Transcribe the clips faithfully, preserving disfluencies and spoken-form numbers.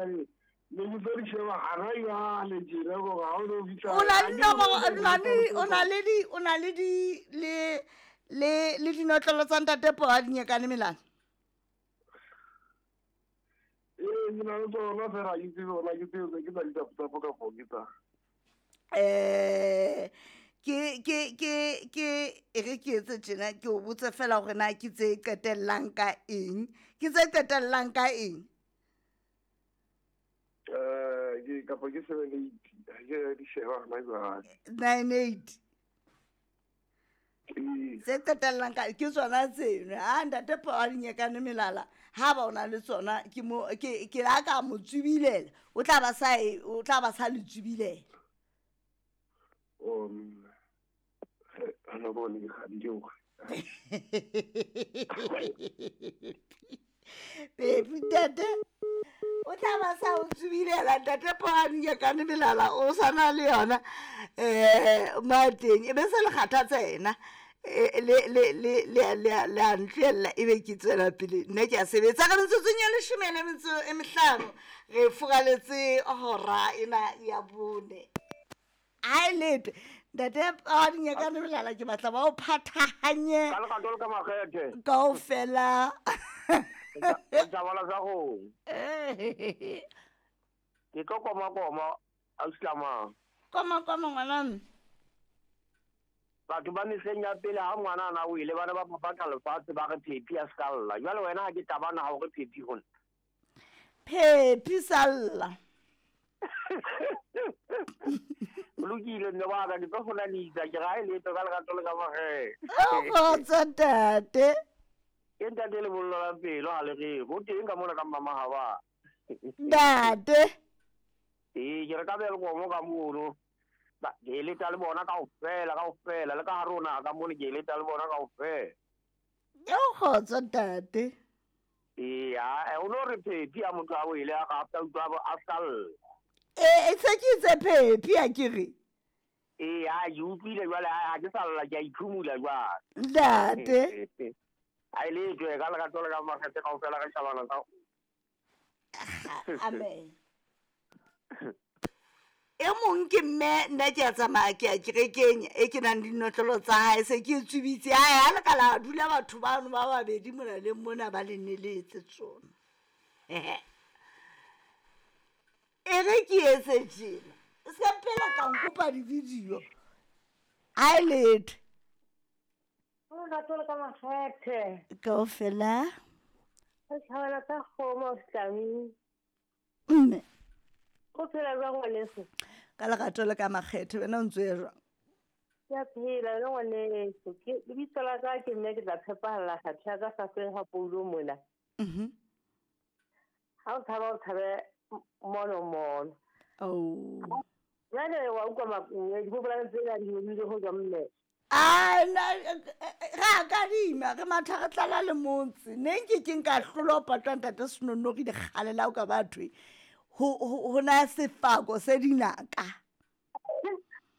Ne ke tlo di sheba hana jwale tjena gore ha o no fihla. O na le dinomoro, o na le o na le di o na le di le le le dinotlolo tsa ntate Poa Dinyekane Melana. Ee, ke na le tsona fela, ha ke tsebe hore na ke tsebe ke tsa ditapotsapo kapo ke tsa. Eh ke ke ke ke e re ke etse tjena, ke o botse fela hore na ke tse qetellang ka eng, ke tse qetellang ka eng. Eh ke kapa ke seven eight, ha ke di sheba hona jwale. Nine eight. Ee. Tse qetellang ka ke tsona tseno. Ha ntate Poa Dinyekane Melala ha ba o na le tsona, ke mo ke ke la ka mo tsubilela, o tla ba sa e o tla ba sa le tsubilela. Um ana bone ke kgadile hore. Baby ntate o tla ba sa o tsubilela, ntate Poa Dinyekane Melala o sa na le yona eh mateng, e be se le kgathatsa yena. Eh, le le le le le le a ntlohella, ebe ke tswela pele nna ke a sebetsa. Ka metsotsong ya leshome le metso e mehlano re furaletse hora ena ya bone. Ha e letho ntate Poa Dinyekane Melala, ke batla ba o phathahanye ka lerato le ka makgethe kaofela. Tsa sa go ke tlo koma koma ausi. Koma koma ngwana. Batho ba mehleng ya pele ha ngwana ana o ile bana ba phaphatha lefatshe ba re phephi a ska lla. Jwale wena ha ke tabana ha o re phephi ho nna. Phephi salla. O lokile mme wa ka, ke tlo kgonanisa, ke ra e letho ka lerato le ka makgethe. Kgotso ntate. Ke ntate lebollo la pelo ha le re ho teng ka mona ka mama ha ba. Ntate. Ee, ke re ka Welkom ka mono. Ba ke eletsa le bona kaofela kaofela, le ka hare ho naha ka mona ke eletsa le bona kaofela. Eo kgotso ntate. Ee, ha o no re phephi ha motho a wele a ka after utlwa a ska lla. Ee, se ke itse phephi ha ke re. Ee, ha ke utlwile jwale, ha ke sa lla ke a iphumula jwale. Ntate. Ha e letswe ka lerato le ka makgethe kaofela re shabana ka. Amen. E mong ke mme, nna ke a tsamaya ke ya kerekeng e ke nang le dinotlolo tsa hae, se ke tsubitse. Hae ha le ka la dula batho bano ba babedi mona le mona ba le neletse tsona. E re ke etse tjena, se ka phela ka nkopa di-video. Ha e letho. Lerato le ka makgethe. Kaofela. Re thabela ka kgomo Tlami. Mme. O phela jwang ngwaneso? Ka lerato le ka makgethe, wena o ntso ya jwang? Ke a phela le ngwaneso. Ke lebitso la ka ke mme ke tla tshepahalla kgathe ya ka hlahlweng ha Paulo mona. Mhm. Ha o tshaba o tshabe mono mono. Oh. Jwale wa utlwa makuwe, dipopolane tsena di hodile ho tswa mme. Ah, na ra kadima re matha re tlala le motse. Ne nke ke nka hlola ho patwa ntate Senonogi dikgale la o ka bathwe. Ho ho na sefako se dinaka.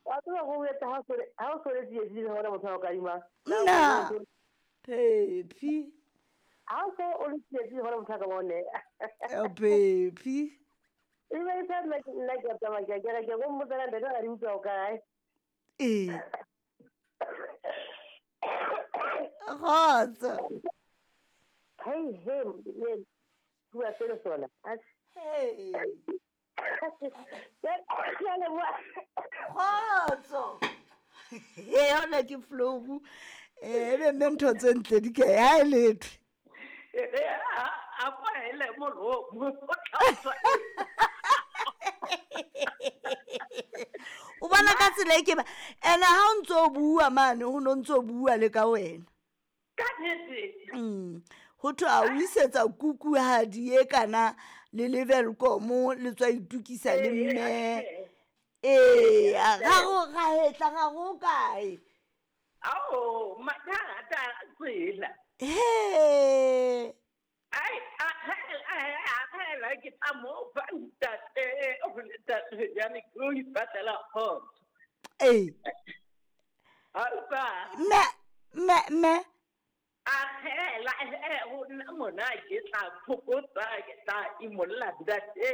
Wa tseba go etsa ha o ha o sole tsietsi le hore motho a o kadima. Nna. Phephi. Ha o so o le tsietsi hore motho a ka bone. Eh phephi. E be e sa nna nna ke tsamaya ke ke ke go mmotsa ntate ga di utlwa o kae. Ee. Kgotso. Hey hey, le bua selo sona. Hey. Ke a leboha. Kgotso. E yona ke flow. Eh ebe mme ntho tse ntle di ke ha e letho. A kwahele molomo o tla tswa. O bona ka tsela e ke ba ene ha o ntso bua mane ho no ntso bua le ka wena. Ka nnete. Mm. Ho thwe a o isetsa kuku hadi e kana le level komo le tswa itukisa le mme. Ee, ga go ga hetla ga go kae. Ao, mathata tsela. He. Ai, a a a ke tla mo fa ntate o ntate jane ke o ipatlela kgotso. Ee. Alpa. Me me me. A hela he ho nna mona ke tla fokotsa ke tla imolla ntate.